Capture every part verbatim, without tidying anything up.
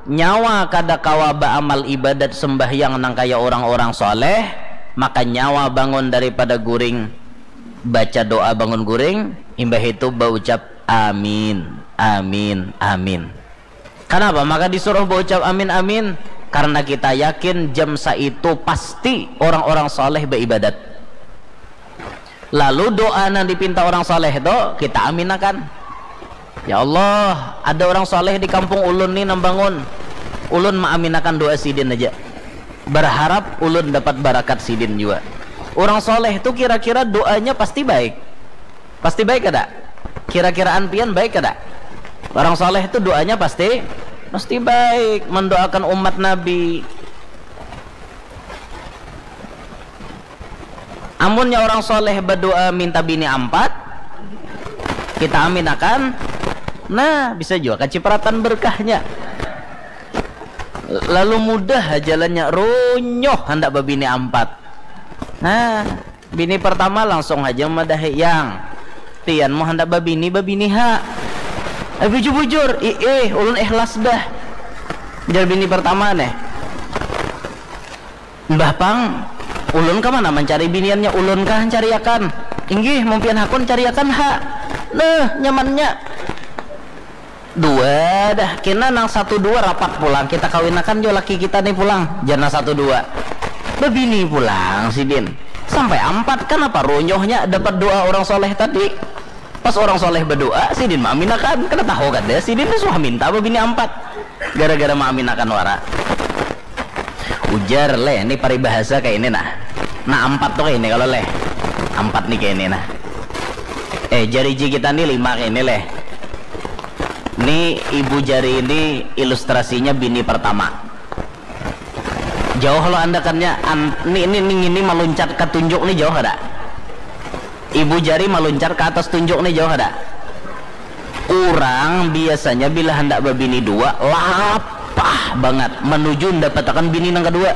Nyawa kada kawa baamal ibadat sembahyang nang kaya urang-urang soleh, maka nyawa bangun daripada guring, baca doa bangun guring, imbah itu baucap amin, amin, amin. Kanapa maka disuruh baucap amin, amin? Karena kita yakin jam saitu pasti orang-orang soleh baibadat. Lalu doa nang dipinta orang soleh tu kita aminakan. Ya Allah, ada orang soleh di kampung ulun ni nang bangun. Ulun maaminakan doa sidin aja. Berharap ulun dapat barakat sidin jua. Orang soleh tu kira-kira doanya pasti baik. Pasti baik kada? Kira-kiraan pian baik kada? Orang soleh tu doanya pasti pasti baik, mendoakan umat Nabi. Amunnya orang soleh berdoa minta bini ampat, kita amin akan. Nah, bisa juga kacipratan berkahnya. Lalu mudah jalannya, runyoh handak babini ampat. Nah, bini pertama langsung aja madahi, yang pian mau handak babini, babini ha. Eh, bujur-bujur, ih, ulun ikhlas dah. Jar bini pertama nih. Mbah pang, ulun ka mana mancari biniannya, ulun kah cariakan? Inggih, mun pian hakun cariakan ha. Nah, nyamannya. Dua dah, kena nang satu dua rapat pulang, kita kawinakan jo laki kita nih pulang, jar nang satu dua. Babini pulang sidin. Sampai ampat, kanapa runyohnya dapat doa orang soleh tadi. Pas orang soleh berdoa, sidin maaminakan. Kada tahu kada, sidin tu suah minta babini ampat. Gara-gara maaminakan wara. Ujar leh, ini paribahasa kayak ini nah. Nah, ampat tuh kayak ini kalau leh. Ampat nih kayak ini nah. Eh, jari ji kita nih lima kayak ini leh. Ini ibu jari ini ilustrasinya bini pertama. Jauh lo andakannya, an, ini, ini, ini, ini meluncat ke tunjuk nih jauh ada. Ibu jari meluncat ke atas tunjuk nih jauh ada. Orang biasanya bila hendak babini dua, lapah banget menuju mendapatakan bini nang kedua.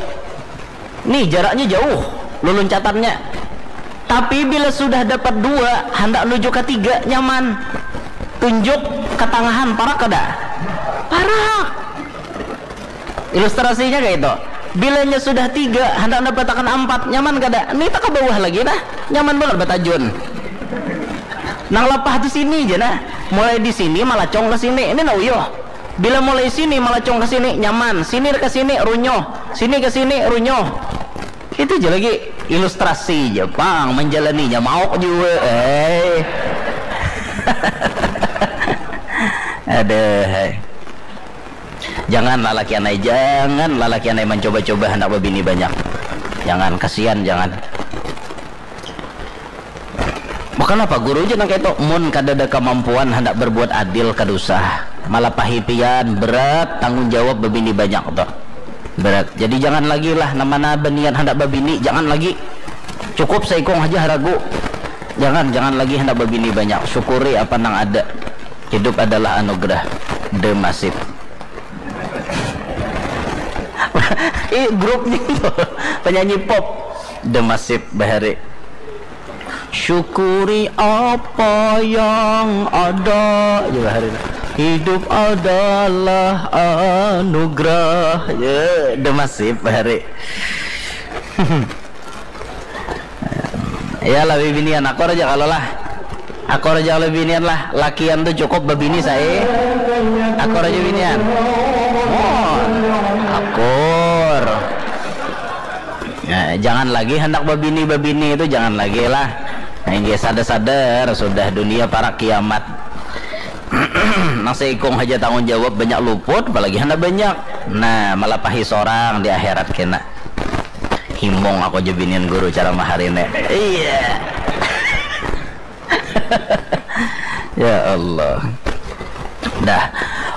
Nih, jaraknya jauh, luluncatannya. Tapi bila sudah dapat dua, hendak nuju ketiga, nyaman. Tunjuk ketangahan, parak kada? Parak. Ilustrasinya kayak itu. Bilanya sudah tiga, hendak mendapatakan ampat, nyaman kada? Nih, tak ke bawah lagi, nah. Nyaman banget batajun. Nang lapah tu sini aja, nah. Mulai di sini, malacong ke sini. Ini nah uyuh. Bila mulai sini, malacong ke sini, nyaman. Sini ke sini, runyoh. Sini ke sini, runyoh. Itu aja lagi. Ilustrasi aja, pang. Menjalaninya mauk juga. Eh. Ada, hai. Jangan lalakian ai, jangan lalakian ai mencoba-coba hendak babini banyak. Jangan, kasihan, jangan. Bahkan apa guru je nang kayak itu, mun kada ada kemampuan hendak berbuat adil kada usah. Malapahi pian, berat tanggung jawab babini banyak tuh. Berat. Jadi jangan lagi lah, nama na beniat hendak babini, jangan lagi. Cukup seikung aja haragu. Jangan, jangan lagi hendak babini banyak. Syukuri apa nang ada. Hidup adalah anugerah. Demasif. Ih, grupnya itu penyanyi pop. Demasif bahari. Syukuri apa yang ada. Ya, bahari. Hidup adalah anugerah. Ya, demasif bahari. Ya, lebih binian, akur aja kalau lah. Akur aja kalau binian lah. Lakian tuh cukup babini saya. Akur aja binian. Oh, akur. Ya, jangan lagi hendak babini-babini itu, jangan lagi lah. Nah, ini sadar-sadar sudah dunia para kiamat. Nang seikung aja tanggung jawab banyak luput, apalagi hendak banyak. Nah, malapahi seorang di akhirat kena. Himung aku aja binian guru ceramah hari ini. Iya. Ya Allah. Dah.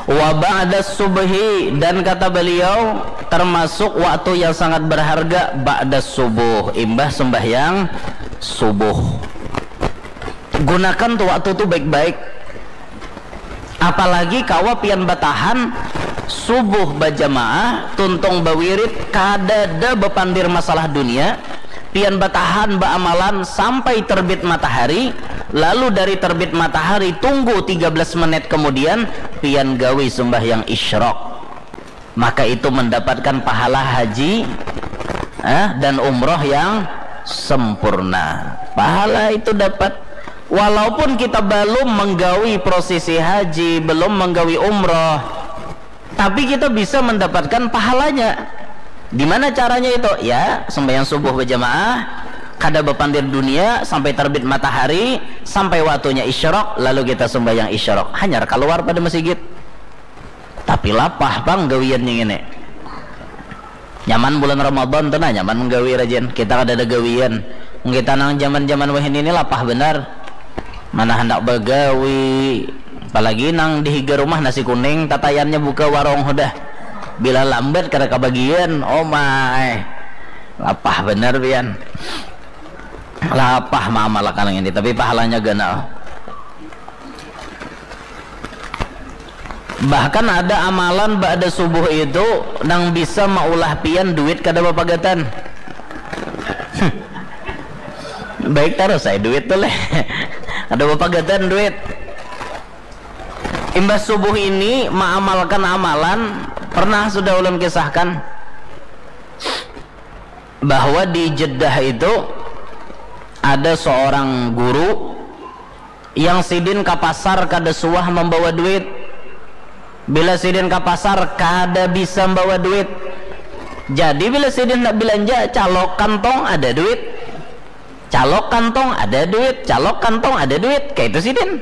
Wa ba'da subhi, dan kata beliau termasuk waktu yang sangat berharga ba'da subuh, imbah sembahyang subuh. Gunakan tuh waktu tuh baik-baik. Apalagi kawa pian batahan subuh bajamaah, tuntung bawirid, kadada bapandir masalah dunia, pian batahan baamalan sampai terbit matahari, lalu dari terbit matahari tunggu tiga belas menit kemudian pian gawi sembahyang isyraq. Maka itu mendapatkan pahala haji, eh, dan umroh yang sempurna. Pahala itu dapat, walaupun kita belum menggawi prosesi haji, belum menggawi umroh, tapi kita bisa mendapatkan pahalanya. Di mana caranya itu? Ya, sembahyang subuh berjamaah, kada bapandir dunia sampai terbit matahari, sampai waktunya isyrok, lalu kita sembahyang isyrok. Hanyar keluar pada masjid. Tapi lapah pang gawiannya ini. Nyaman bulan Ramadan tu nah, nyaman menggawi rajin. Kita kada ada gawian. Kita nang zaman-zaman wahini ini lapah benar. Mana hendak bagawi. Apalagi nang di higa rumah nasi kuning, tatayannya buka warung hudah. Bila lambat kada kabagian, oh my. Lapah benar pian. Lapah maamalakan ini, tapi pahalanya ganal. Bahkan ada amalan ba'da subuh itu nang bisa maulah pian duit kada bapagatan. Baik tarus saya duit tu leh. Kada bapagatan duit. Imbah subuh ini maamalkan amalan, pernah sudah ulun kisahkan bahwa di Jeddah itu ada seorang guru yang sidin ka pasar kada suah membawa duit. Bila sidin ka pasar kada bisa membawa duit. Jadi bila sidin nak belanja, calok kantong ada duit. Calok kantong ada duit, calok kantong ada duit. Kayak itu sidin.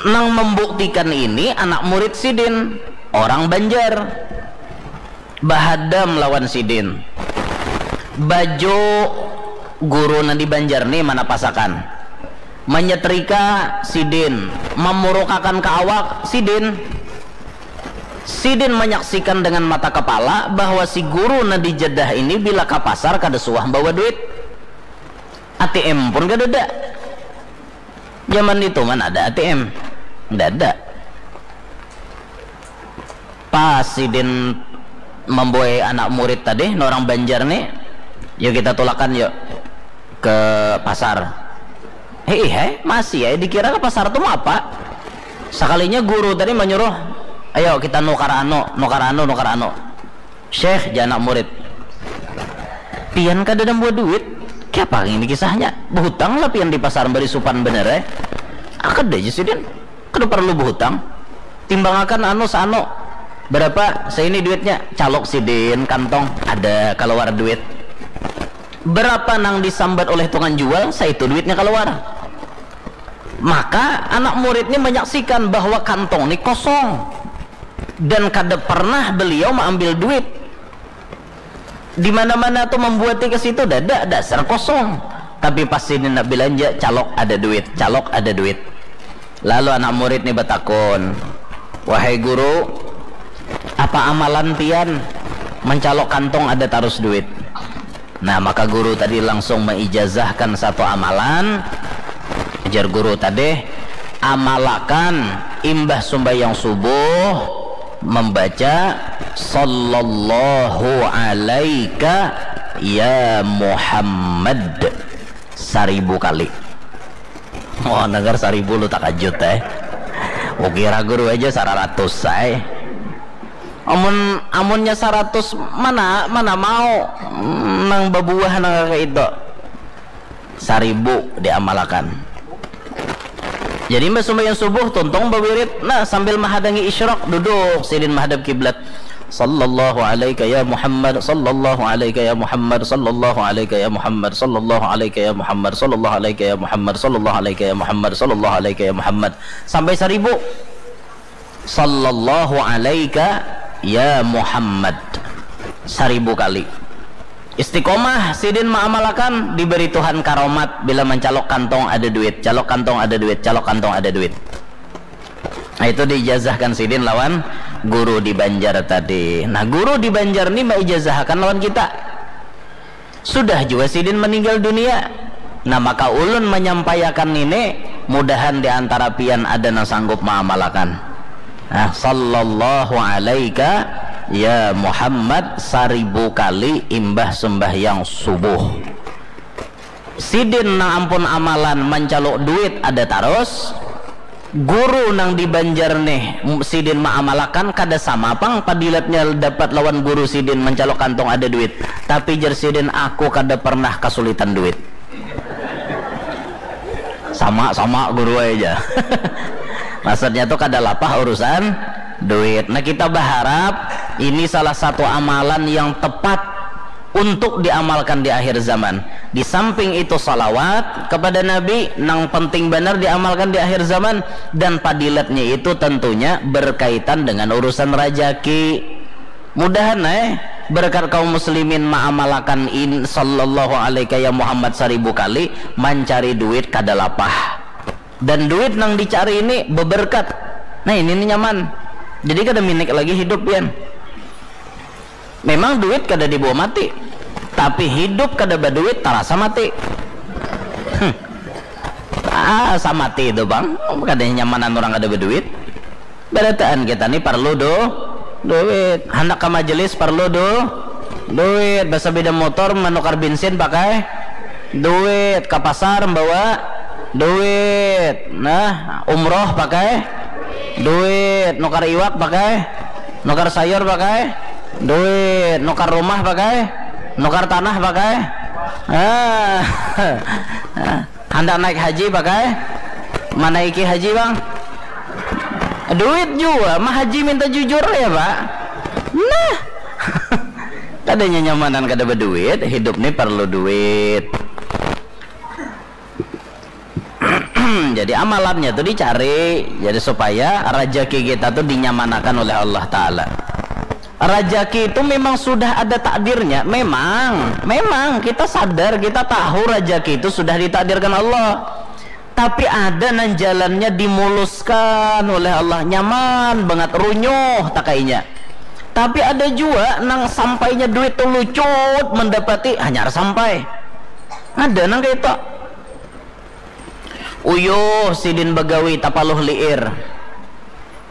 Nang membuktikan ini anak murid sidin, orang Banjar. Bahadam lawan sidin. Baju guru nang di Banjar ni manapasakan. Manyetrika sidin, mamurukakan ka awak sidin. Sidin manyaksikan dengan mata kepala bahwa si guru nang di Jeddah ini bila ka pasar kada suah bawa duit. A T M pun kadada. Zaman itu mana ada A T M? Kada ada. Pas sidin membuai anak murid tadi, orang Banjar nih, yuk kita tulakan yuk ke pasar. Hei, hei, masih ya dikira ke pasar tuh apa? Sekalinya guru tadi menyuruh, ayo kita nukar anu, nukar anu, nukar anu. Syekh, jar anak murid, pian kada ada buat duit. Kiapa ini kisahnya? Berhutang lah pian di pasar bari supan bener eh. Akad aja sidin. Kada perlu berhutang. Timbangakan anu sano. Berapa? Saya ini duitnya. Calok sidin kantong ada keluar duit. Berapa nang disambat oleh tukang jual, saya itu duitnya keluar. Maka anak murid ini menyaksikan bahwa kantong ini kosong dan kada pernah beliau mengambil duit. Di mana-mana tuh membuati ke situ dada dasar kosong. Tapi pasti ini nak belanja calok ada duit, calok ada duit. Lalu anak murid nih betakun, wahai guru, apa amalan pian mencalok kantong ada tarus duit? Nah, maka guru tadi langsung meijazahkan satu amalan. Ajar guru tadi, amalakan imbah sumbayang subuh membaca sallallahu alaika ya Muhammad saribu kali. Oh, dengar saribu lu takajut eh. Ukira guru aja saratus say. Amun amunnya saratus mana mana mau nang babuah nang kayak itu. Saribu diamalakan. Jadi mbak sumbayang subuh tuntung bawirid nah sambil mahadangi isyrok duduk sidin mahadap kiblat. Sallallahu alaika ya Muhammad, sallallahu alaika ya Muhammad, sallallahu alaika ya Muhammad, sallallahu alaika ya Muhammad, sallallahu alaika ya Muhammad, sallallahu alaika ya Muhammad, sallallahu alaika ya Muhammad. Sampai saribu. Sallallahu alaika ya Muhammad. Saribu kali. Istiqomah sidin maamalakan diberi Tuhan karomat bila mencalok kantong ada duit, calok kantong ada duit, calok kantong ada duit. Nah, itu diijazahkan sidin lawan guru di Banjar tadi. Nah, guru di Banjar ni maijazahakan lawan kita. Sudah jua sidin meninggal dunia. Nah, maka ulun menyampaikan ini, mudahan di antara pian ada nang sanggup maamalakan. Nah, sallallahu alaika ya Muhammad saribu kali imbah sembahyang subuh. Sidin nang ampun amalan mancaluk duit ada tarus. Guru nang di Banjar nih, sidin maamalakan kada sama pang padilatnya dapat lawan guru sidin mancalok kantong ada duit. Tapi jar sidin, aku kada pernah kasulitan duit. Sama-sama guru aja. Maksudnya tuh kada lapah urusan duit. Nah, kita berharap ini salah satu amalan yang tepat untuk diamalkan di akhir zaman. Di samping itu, salawat kepada Nabi nang penting benar diamalkan di akhir zaman, dan padilatnya itu tentunya berkaitan dengan urusan rajaki. Mudahan eh berkat kaum muslimin maamalakan in sallallahu alaihi ya Muhammad saribu kali, mancari duit kada lapah. Dan duit nang dicari ini beberkat. Nah, ini nih nyaman. Jadi kada minik lagi hidup pian. Memang duit kada dibawa mati, tapi hidup kada baduit tarasa mati. Hmm. Ah, samati itu bang, kada nyamanan orang kada baduit. Barataan kita nih perlu do duit. Handak ke majelis perlu do duit. Basa beda motor menukar bensin pakai duit. Ke pasar membawa duit. Nah, umroh pakai duit. Nukar iwak pakai, nukar sayur pakai duit, nukar rumah pakai, nukar tanah pakai. Ah. Handak naik haji pakai, manaiki haji bang. Duit jua mah haji, minta jujur ya pak. Nah. Kada nyamanan kada berduit, hidup nih perlu duit. Jadi amalannya tuh dicari, jadi supaya rezeki kita tuh dinyamanakan oleh Allah Ta'ala. Rezeki itu memang sudah ada takdirnya, memang, memang kita sadar, kita tahu rezeki itu sudah ditakdirkan Allah. Tapi ada nang jalannya dimuluskan oleh Allah, nyaman banget, runyuh takainya. Tapi ada juga nang sampainya duit tuh lucut mendapati hanyar sampai. Ada nang kayak itu. Uyuh sidin bagawi tapaluh liir.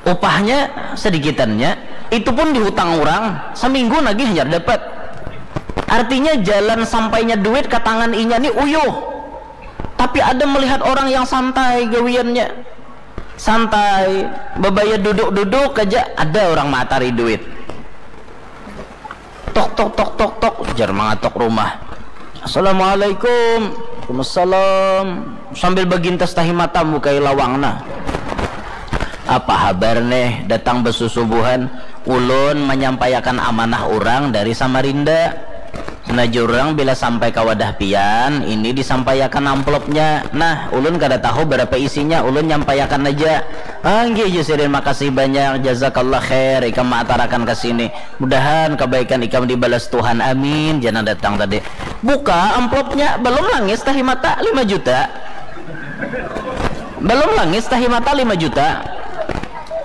Upahnya sedikitannya, itu pun dihutang orang, saminggu nagih hanyar dapat. Artinya jalan sampainya duit ke tangan inya ni uyuh. Tapi ada melihat orang yang santai gawiannya. Santai, babaya duduk-duduk aja ada orang matari duit. Tok tok tok tok tok, jar mangatok rumah. Assalamualaikum. Waalaikumsalam. Sambil bagintas tahi mata mukai lawang nah. Apa habar neh datang basusubuhan? Ulun manyampaiakan amanah urang dari Samarinda. Nah jar urang bila sampai ka wadah pian, ini disampaiakan amplopnya. Nah, ulun kada tahu berapa isinya, ulun nyampaiakan aja. Ah, nggih jar sidin, makasih banyak, jazakallah khair, ikam maatarakan ka sini. Mudahan kabaikan ikam dibalas Tuhan. Amin, jar nang datang tadi. Buka amplopnya, balum langis tahi mata, lima juta. Balum langis tahi mata, lima juta.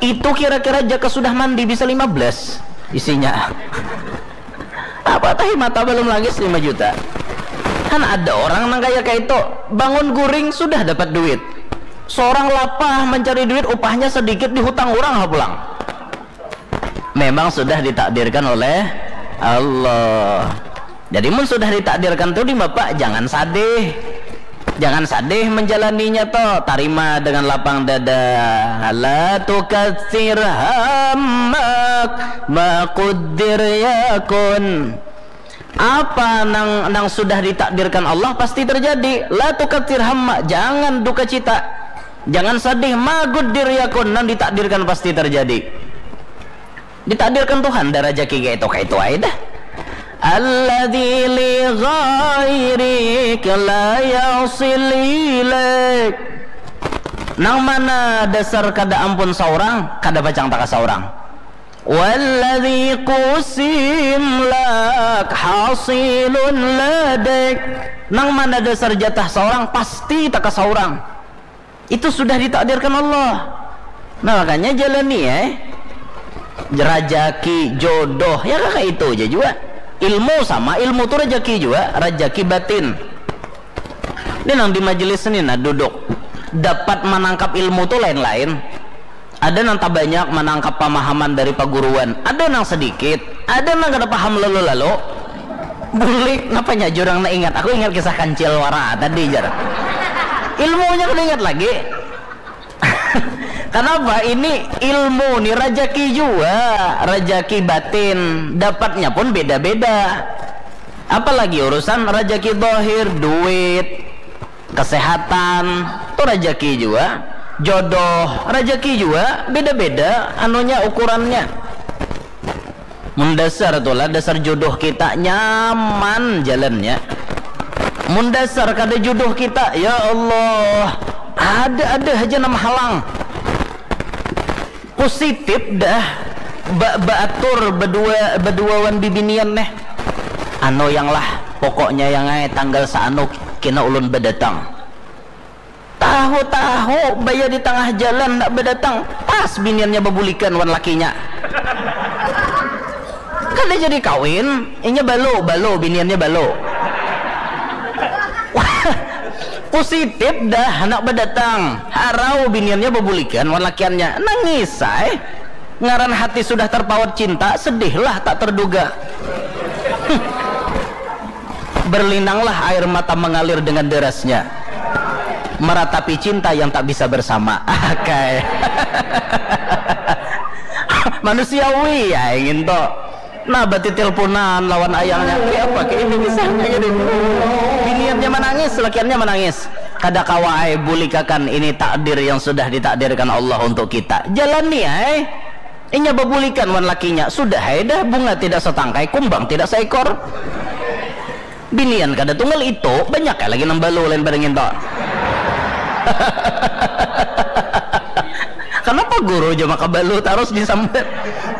Itu kira-kira jaka sudah mandi bisa lima belas isinya. Apa tahi mata balum langis lima juta. Kan ada orang nang kaya kaitu, bangun guring sudah dapat duit. Seorang lapah mancari duit, upahnya sedikit, dihutang urang ha pulang. Memang sudah ditakdirkan oleh Allah. Jadi mun sudah ditakdirkan tu di bapak, jangan sadih. Jangan sadih menjalaninya to, tarima dengan lapang dada. La tukatsir hammak ma quddir yakun. Apa nang nang sudah ditakdirkan Allah pasti terjadi. La tukatsir hammak, jangan duka cita. Jangan sadih, ma quddir yakun, nang ditakdirkan pasti terjadi. Ditakdirkan Tuhan dah rajaki kaitu, kaitu ai dah. Alladzi li ghairik la yasil ilaik. Nang mana dasar kada ampun saurang, kada pacang taka saurang. Walladzi qusim lak hasilun ladaik. Nang mana dasar jatah saurang, pasti taka saurang. Itu sudah ditakdirkan Allah. Nah, makanya jalani ya. Rajaki, jodoh, ya kakak itu aja juga. Ilmu sama, ilmu tu rajaki juga, rajaki batin. Ini nang di majelis ni nah duduk. Dapat manangkap ilmu tu lain-lain. Ada nang tabanyak manangkap pamahaman dari paguruan, ada nang sedikit, ada nang kada paham lalu-lalu. Bulik, napanya jurang na ingat? Aku ingat kisah kancil wara tadi jar. Ilmunya kada ingat lagi. Kenapa? Ini ilmu nih, rajaki jua, rajaki batin, dapatnya pun beda-beda. Apalagi urusan rajaki zahir, duit, kesehatan, tu rajaki jua. Jodoh, rajaki jua, beda-beda anunya, ukurannya. Mun dasar tu lah, dasar jodoh kita nyaman jalannya. Mun dasar kada jodoh kita, ya Allah, ada-ada haja nang mahalang. Positif dah ba baatur badua, badua wan bibinian neh. Anu yang lah, pokoknya yang ai tanggal saanu kena ulun badatang. Tahu-tahu baya di tangah jalan handak badatang, pas biniannya babulikan wan lakinya. Kada jadi kawin, inya balu, balu, biniannya balu. Positif dah handak badatang, harau biniannya babulikan wan lakiannya, nangis ai. Ngaran hati sudah terpaut cinta, sedihlah tak terduga. Berlinanglah air mata mengalir dengan derasnya, meratapi cinta yang tak bisa bersama. Akai. Manusiawi ya ingin to. Nah, batitilpunan lawan ayangnya. Kayak apa? Kayak ini misalnya gitu. Biniannya menangis, lakiannya menangis. Kada kawa ai, bulikakan, ini takdir yang sudah ditakdirkan Allah untuk kita. Jalani ai. Inya babulikan wan lakinya, sudah ai dah, bunga tidak setangkai, kumbang tidak seekor. Binian kada tunggal itu, banyak ai lagi nang balu lain pada nginto. Kenapa guru ja maka balu tarus disambat?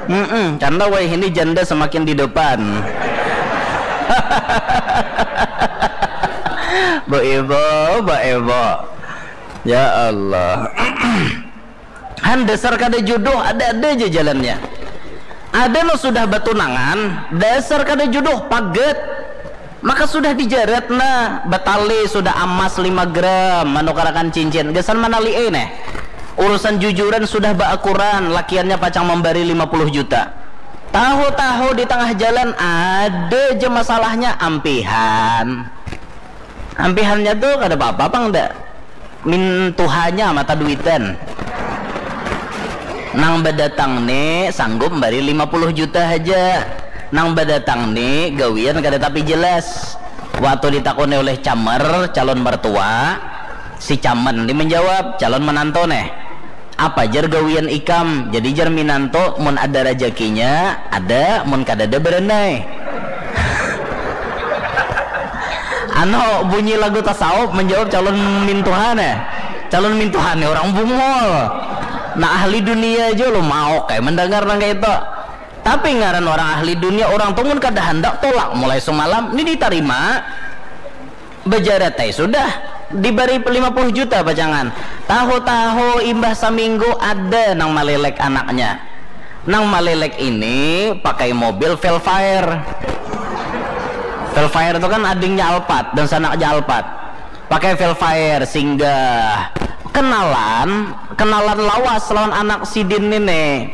Mm-mm, canda wai, ini janda semakin di depan. Bu Ibu, Bu Ibu. Ya Allah. Han, dasar kada jodoh, ada-ada aja jalannya. Ada no sudah batunangan, dasar kada jodoh, paget. Maka sudah dijarat nah, batali sudah amas lima gram, manukarakan cincin. Gasan manali eh neh. Urusan jujuran sudah baakuran, lakiannya pacang mambari lima puluh juta. Tahu-tahu di tengah jalan ada aja masalahnya, ampihan. Ampihannya tuh kada apa-apa pang dah. Mintuhanya mata duitan. Nang badatang ni sanggup mbari lima puluh juta haja. Nang badatang ni gawian kada tapi jelas. Waktu ditakuni oleh camer, calon mertua, si camen ni menjawab, calon menantu neh. Apa jar gawian ikam? Jadi jar minantu, mun ada rajakinya ada, mun kadada berenai. Anu, bunyi lagu tasawuf menjawab calon mintuhan ya. Calon mintuhan ya orang bungul. Nah, ahli dunia aja lo mau kayak mendengar nang kayak itu. Tapi ngaran orang ahli dunia, orang tuh mun kada handak tolak mulai semalam, ini ditarima. Bejaratai sudah, dibari lima puluh juta pacangan. Tahu-tahu imbah saminggu ada nang malelek anaknya. Nang malelek ini pakai mobil Velfire. Velfire itu kan adingnya Alphard dan sanaknya Alphard. Pakai Velfire singgah, kenalan, kenalan lawas lawan anak sidin ini.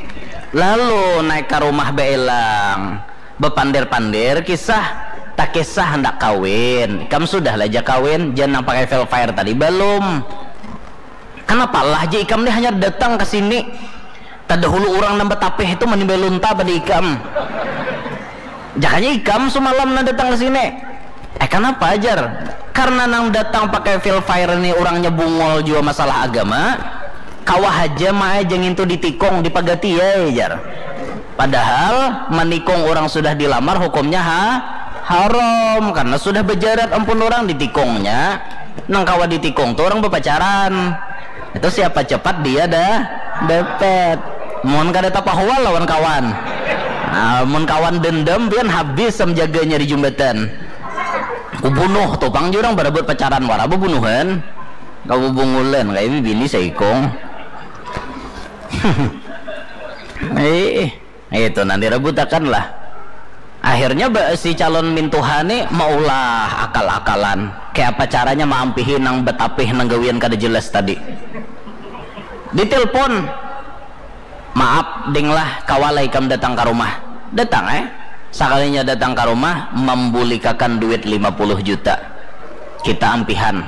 Lalu naik ke rumah beelang. Bepander-pander kisah, tak kisah hendak kawin. Ikam sudah lah ja kawin, jan nang pakai Velfire tadi balum. Kenapa lah ja ikam ni hanya datang ke sini? Tadahulu orang nang betapih itu manimbai lunta pada ikam. Jakanya ikam semalam nang datang ke sini. Eh, kenapa ajar? Karena nang datang pakai Velfire ini orangnya bungol jua masalah agama. Kawa haja maai jangintu ditikung, dipagati ai jar. Padahal manikung orang sudah dilamar hukumnya ha haram karena sudah bejarat ampun orang ditikungnya. Nang kawa ditikung tu orang bepacaran. Itu siapa cepat dia dah dapat. Mun kada tapahual lawan kawan. Nah, mun kawan dendam pian habis sam jaganya di jembatan. Kubunuh tu pang jurang berebut pacaran wara bebunuhan. Kau bungulan kayak bini seikung. Eh, itu nanti rebutakan lah. Akhirnya si calon mintuha ni maulah akal-akalan. Kayak apa caranya maampihi nang betapih nang gawian kada jelas tadi. Ditelepon, maaf ding lah, kawala ikam datang ke rumah. Datang eh. Sakalinya datang ke rumah, membulikakan duit lima puluh juta. Kita ampihan.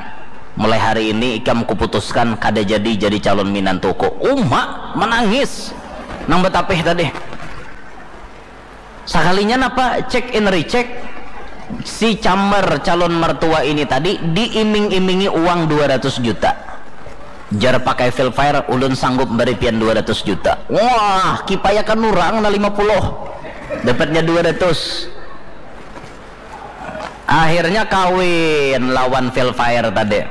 Mulai hari ini ikam kuputuskan kada jadi jadi calon minantuku. Uma menangis nang batapih tadi. Sakalinya napa check and recheck, si cambar calon mertua ini tadi diiming-imingi uang dua ratus juta. Jar pakai Velfire, ulun sanggup bari pian dua ratus juta. Wah, kipayakan urang na lima puluh. Dapatnya dua ratus. Akhirnya kawin lawan Velfire tadi.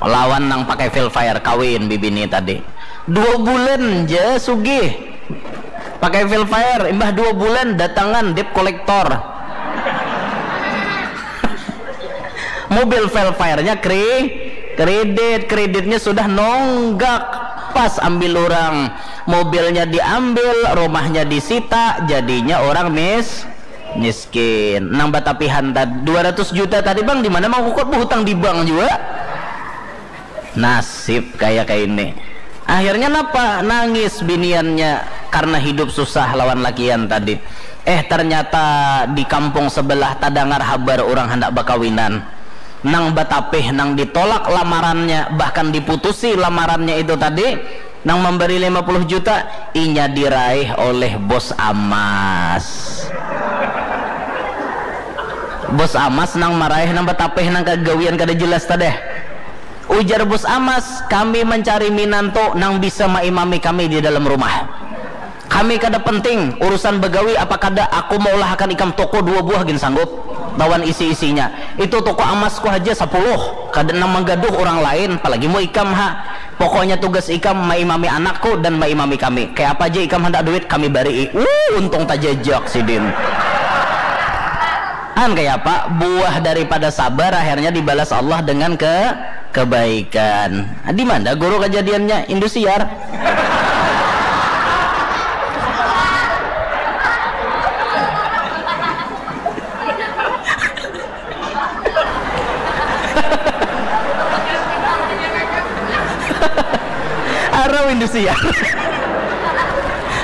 Lawan nang pakai Velfire kawin bibini tadi. Dua bulan ja sugih. Pakai Velfire, imbah dua bulan datangan debt collector. Mobil Velfire-nya kri, kredit, kreditnya sudah nonggak. Pas ambil orang, mobilnya diambil, rumahnya disita, jadinya orang mis, miskin. Nang batapihan tadi dua ratus juta tadi, Bang, di mana mau kukut behutang di bank juga? Nasib kaya kaini. Akhirnya napa? Nangis biniannya karena hidup susah lawan lakian tadi. Eh, ternyata di kampung sebelah tadangar habar orang handak bakawinan. Nang batapih, nang ditolak lamarannya, bahkan diputusi lamarannya itu tadi, nang memberi lima puluh juta, inya diraih oleh Bos Amas. Bos Amas nang maraih nang batapih nang kagawian kada jelas tadeh. Ujar Bos Amas, "Kami mencari minantu nang bisa maimami kami di dalam rumah. Kami kada penting urusan bagawi apa kada, aku maulahakan ikam toko dua buah gin sanggup, lawan isi-isinya. Itu toko amasku haja sapuluh, kada nang manggaduh urang lain, apalagi mu ikam ha. Pokoknya tugas ikam maimami anakku dan maimami kami. Kaya apa ja ikam handak duit, kami barii." Uh, untung tajajak sidin. An kaya apa? Buah daripada sabar akhirnya dibalas Allah dengan ke kebaikan. Di mana guru kejadiannya? Indosiar. Arau Indosiar.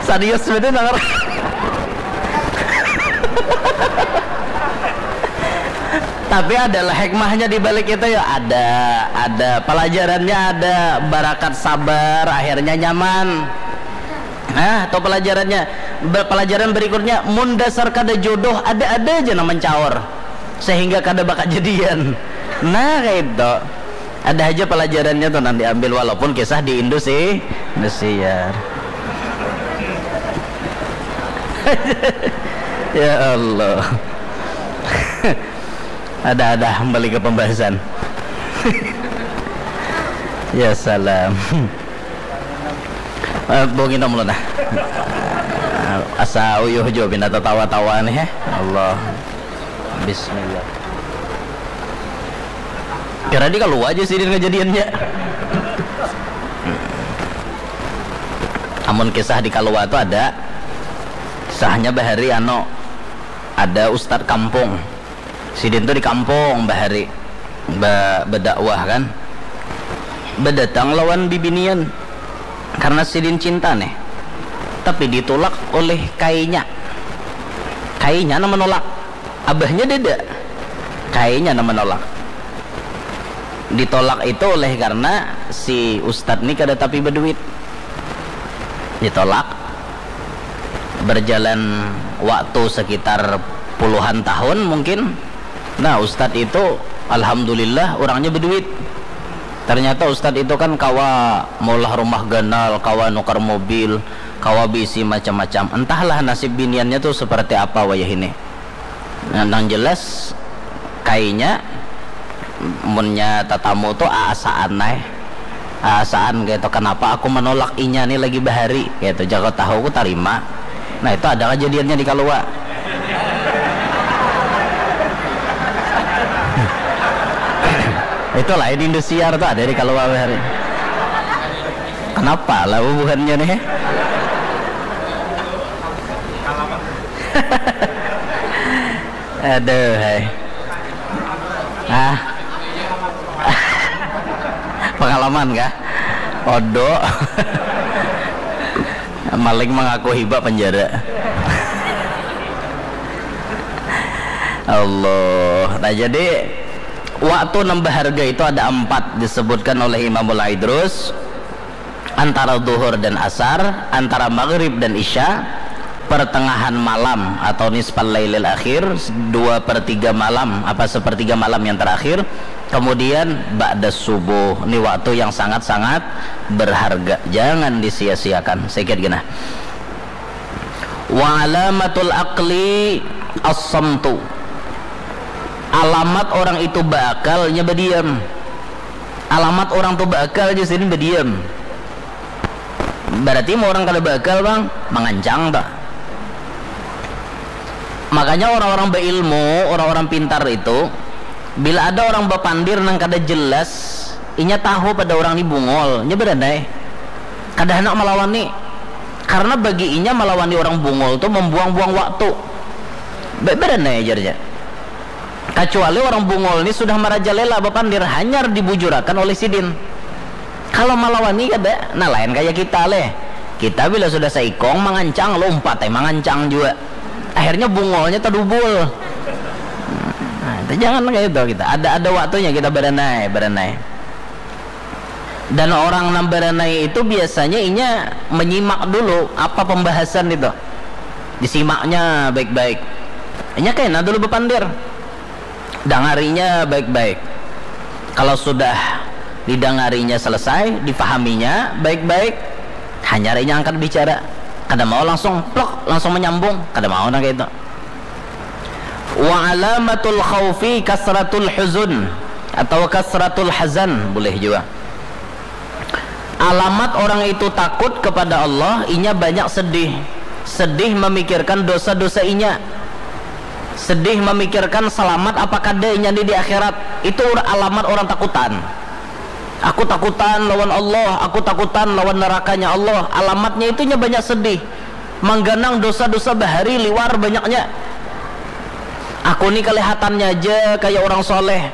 Serius betul nang. Tapi adalah hikmahnya di balik itu ya, ada, ada pelajarannya, ada barakat sabar, akhirnya nyaman. Nah, atau pelajarannya, be- pelajaran berikutnya, mun dasar kada jodoh, ada-ada aja nang mencaur sehingga kada bakajadian. Nah, kayak itu. Ada aja pelajarannya tuh nang diambil, walaupun kisah di Indosi, Indosiar. Ya Allah. Ada-ada, kembali ke pembahasan. Ya salam. Eh, bau kita mulai dah. Asa uyuh jo pina tatawa-tawa nih, ya. Allah. Bismillah. Kira di kalau aja sih kejadiannya. Amun kisah di Kalua tuh ada. Kisahnya bahari, ano, ada ustad kampung. Sidin tuh di kampung bahari, ba- berdakwah kan. Bedatang lawan bibinian karena sidin cinta nih. Tapi ditolak oleh kainya. Kainya nang menolak. Abahnya dada. Kainya nang menolak. Ditolak itu oleh karena si ustad nih kada tapi berduit. Ditolak. Berjalan waktu sekitar puluhan tahun mungkin. Nah, ustad itu alhamdulillah orangnya berduit. Ternyata ustad itu kan kawa maulah rumah ganal, kawa nukar mobil, kawa bisi macam-macam. Entahlah nasib biniannya tuh seperti apa wayah ini. Nah, nang jelas kainya munnya tatamu tuh aasaan ai. Aasaan kaitu, "Kenapa aku menolak inya nih lagi bahari?" Kaitu, "Jaka tahu aku tarima." Nah, itu ada kejadiannya di Kalua. Itu lain Indosiar tuh, ada di Kalua bahari. Kenapa lah bubuhannya nih? Aduh, hai. Ah. Pengalaman kah? Odo. Maling mengaku hiba penjara. Allah. Nah, jadi Waktu nang baharga itu ada empat disebutkan oleh Imamul Idrus, antara duhur dan asar, antara maghrib dan isya, pertengahan malam atau nisfal lailil akhir, dua per tiga malam, apa sepertiga malam yang terakhir, kemudian ba'da subuh. Ini waktu yang sangat-sangat berharga, jangan disia-siakan. Sedikit genah. Wa alamatul aqli as-samtu. Alamat orang itu baakalnya badiam. Alamat orang tu baakal aja sini badiam. Berarti mau orang kada baakal, bang, mangancang tak? Makanya orang-orang berilmu, orang-orang pintar itu, bila ada orang bapandir nang kada jelas, inya tahu pada orang ni bungol, nya beranai. Kada handak malawani. Karena bagi inya malawani orang bungol tu membuang-buang waktu. Be-, beranai ajarnya. Kacuali orang bungol ni sudah merajalela bapandir, hanyar dibujurakan oleh sidin. Kalau malawani kada, nah lain kaya kita leh. Kita bila sudah saikong mangancang, lompat ai mangancang jua. Akhirnya bungolnya tadubul. Nah, itu jangan kaya itu kita. Ada, ada waktunya kita beranai, beranai. Dan orang nang beranai itu biasanya inya menyimak dulu apa pembahasan itu. Disimaknya baik-baik. Inya kena dulu bepandir. Dangarinya baik-baik. Kalau sudah didangarinya selesai, dipahaminya baik-baik, hanyar inya angkat bicara. Kada mau langsung plok, langsung menyambung. Kada mau nang kayak itu. Wa alamatul khaufi kasratul huzun atau kasratul hazan, boleh juga. Alamat orang itu takut kepada Allah, inya banyak sedih. Sedih memikirkan dosa-dosa inya. Sedih memikirkan selamat apa kada inya ni di akhirat. Itu ur-, alamat orang takutan. Aku takutan lawan Allah, aku takutan lawan nerakanya Allah. Alamatnya itu inya banyak sedih. Mangganang dosa-dosa bahari liwar banyaknya. Aku ni kelihatannya aja kaya orang soleh.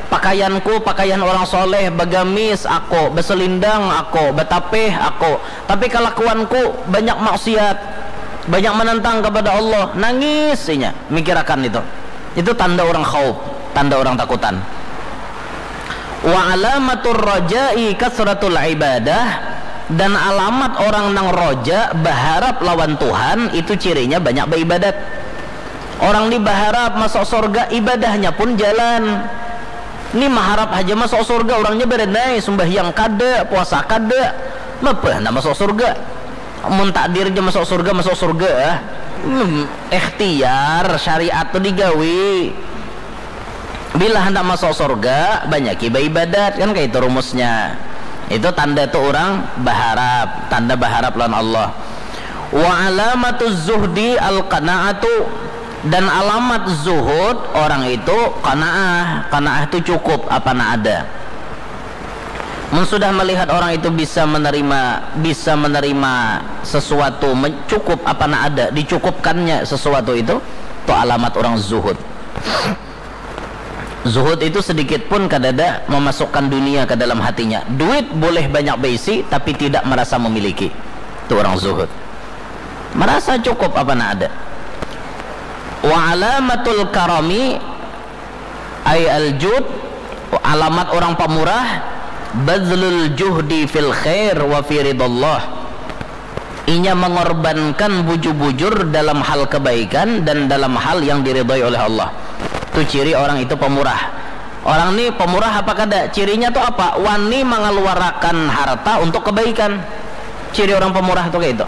Pakaianku pakaian orang soleh, bagamis aku, baselindang aku, batapih aku. Tapi kalakuanku banyak maksiat, banyak menentang kepada Allah. Nangis inya mikirakan itu. Itu tanda orang khauf, tanda orang takutan. Wa alamatur raja'i kasratul ibadah, dan alamat orang nang roja, baharap lawan Tuhan, itu cirinya banyak baibadat. Orang ni baharap masuk surga, ibadahnya pun jalan. Ni maharap haja masuk surga, orangnya badanai, sumbahyang kada, puasa kada, mapa handak masuk surga? Mun takdirnya masuk surga, masuk surga. Hmm, ikhtiar, syariat tu digawi. Bila handak masuk surga, banyaki baibadat, kan kaitu rumusnya. Itu tanda tu urang baharap, tanda baharap lawan Allah. Wa alamatuz zuhdi al-qanaatu, dan alamat zuhud orang itu qanaah. Qanaah tu cukup apa nang ada. Mun sudah melihat orang itu bisa menerima, bisa menerima sesuatu, men-, cukup apa nang ada, dicukupkannya sesuatu itu, tu alamat orang zuhud. Zuhud itu sedikit pun kadada memasukkan dunia ke dalam hatinya. Duit boleh banyak baisi, tapi tidak merasa memiliki. Itu orang zuhud. Merasa cukup apa nang ada. Wa alamatul karami ay al-jud, alamat orang pamurah, bazlul juhdi fil khair wa fi ridallah. Inya mengorbankan bujur-bujur dalam hal kebaikan dan dalam hal yang diridhoi oleh Allah. Tu ciri orang itu pemurah. Orang ni pemurah apa kada? Cirinya tu apa? Wani mengeluarkan harta untuk kebaikan. Ciri orang pemurah tu kayak itu.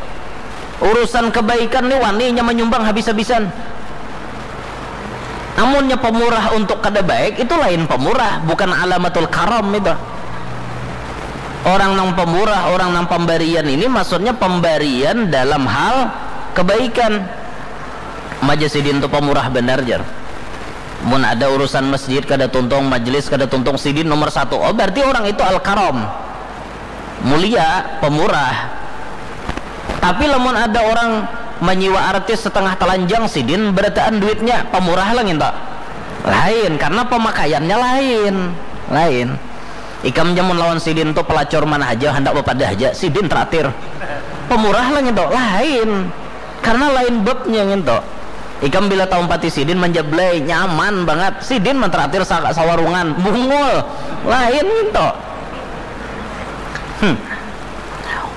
Urusan kebaikan ni wani inya menyumbang habis-habisan. Amunnya pemurah untuk kada baik, itu lain pemurah, bukan alamatul karam itu. Orang nang pemurah, orang nang pemberian ini maksudnya pemberian dalam hal kebaikan. Maja sidin tu pemurah benar, jar. Mun ada urusan masjid kada tuntung, majelis kada tuntung, sidin nomor satu. Oh, berarti orang itu al-karam. Mulia, pemurah. Tapi lamun ada orang manyiwa artis setengah telanjang, sidin berataan duitnya, pemurah lah nginta. Lain, karena pemakaiannya lain. Lain. Ikam jamun lawan sidin tu pelacur mana haja, handak bepadah haja, sidin teratir. Pemurah lah nginta. Lain. Karena lain babnya nginta. Ikam bila taumpati sidin manjablai, nyaman bangat. Sidin man terakhir sa-, sawarungan, bungul. Lain nginto. Hmm.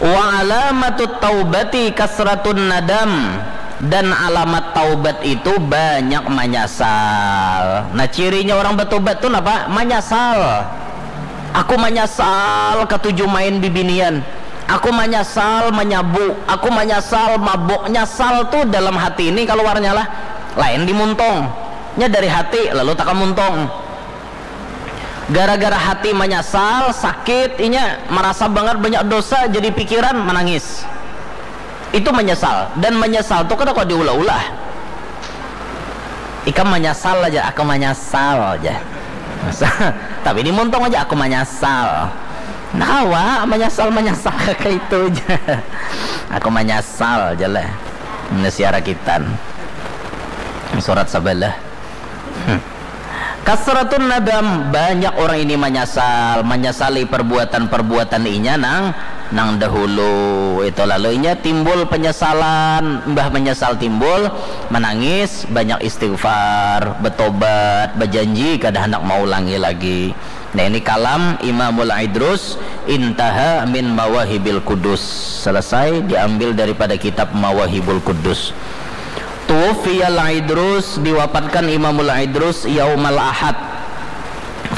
Wa alamatut taubati kasratun nadam. Dan alamat taubat itu banyak manyasal. Nah, cirinya orang batobat tu napa? Manyasal. Aku manyasal katuju main bibinian. Aku manyasal manyabu. Aku manyasal mabuk. Nyasal tu dalam hati ini kaluarnya lah. Lain di muntung. Nya dari hati lalu taka muntung. Gara-gara hati manyasal, sakit, inya marasa bangat banyak dosa, jadi pikiran, manangis. Itu manyasal. Dan manyasal tu kada kawa diulah-ulah. Ikam manyasal aja, aku manyasal aja. Tapi di muntung aja, aku manyasal. Nah, kawa manyasal, manyasal kaya itu aja. Aku manyasal aja lah. Ini siara kitan. Surat sabalah. Hmm. Kasratun nadam, banyak orang ini manyasal, manyasali perbuatan-perbuatan inya nang, nang dahulu. Itu lalu inya timbul penyesalan, mbah menyesal timbul, menangis, banyak istighfar, betobat, berjanji kada hendak maulangi lagi. Nah, ini kalam Imamul Idrus, intaha min mawahibil kudus. Selesai, diambil daripada kitab Mawahibul Kudus. Tuwufiyal Idrus, diwafatkan Imamul Idrus yaumal Ahad,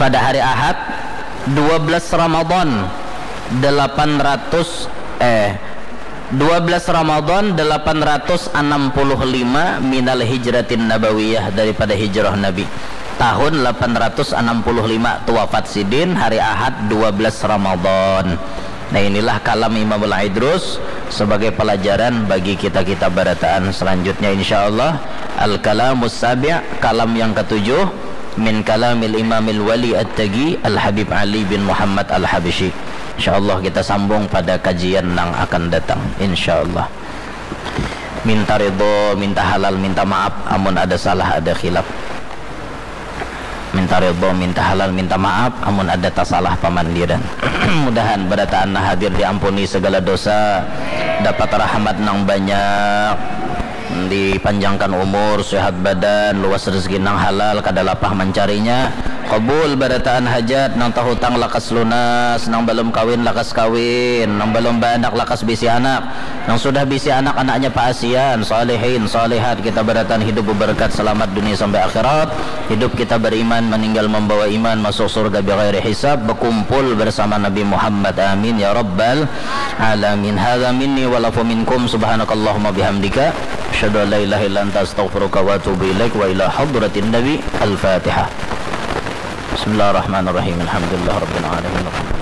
pada hari Ahad, dua belas Ramadan, delapan ratus, eh, dua belas Ramadan delapan ratus enam puluh lima minal hijratin nabawiyah, daripada hijrah Nabi. Tahun delapan ratus enam puluh lima tu wafat sidin, hari Ahad dua belas Ramadan. Nah, inilah kalam Imamul Idrus sebagai pelajaran bagi kita-kita barataan. Selanjutnya, insya Allah, Al-Kalamus Sabi', kalam yang ketujuh, min kalamil Imamil Wali At-Tagi Al-Habib Ali bin Muhammad Al-Habsyi. Insya Allah, kita sambung pada kajian yang akan datang. Insya Allah. Minta ridho, minta halal, minta maaf, amun ada salah, ada khilaf. Minta ridho, minta halal, minta maaf, amun ada tasalah pamandiran. Mudahan barataan nang hadir diampuni segala dosa, dapat rahmat nang banyak, dipanjangkan umur, sehat badan, luas rezeki nang halal, kada lapah mancarinya. Kabul barataan hajat, nang tahutang lakas lunas, nang balum kawin lakas kawin, nang balum baanak lakas bisi anak. Nang sudah bisi anak, anaknya paasian, salihin, salihat, kita barataan hidup beberkat, selamat dunia sampai akhirat. Hidup kita beriman, meninggal membawa iman, masuk surga bighairi hisab, berkumpul bersama Nabi Muhammad. Amin ya rabbal alamin. Hadza minni wal afu minkum. Subhanakallahumma bihamdika, asyhadu an la ilaha illa anta, astaghfiruka wa atubu ilaik. Wa ila hadratin nabi. Al-Fatihah. Bismillahirrahmanirrahim. Alhamdulillah rabbil alamin.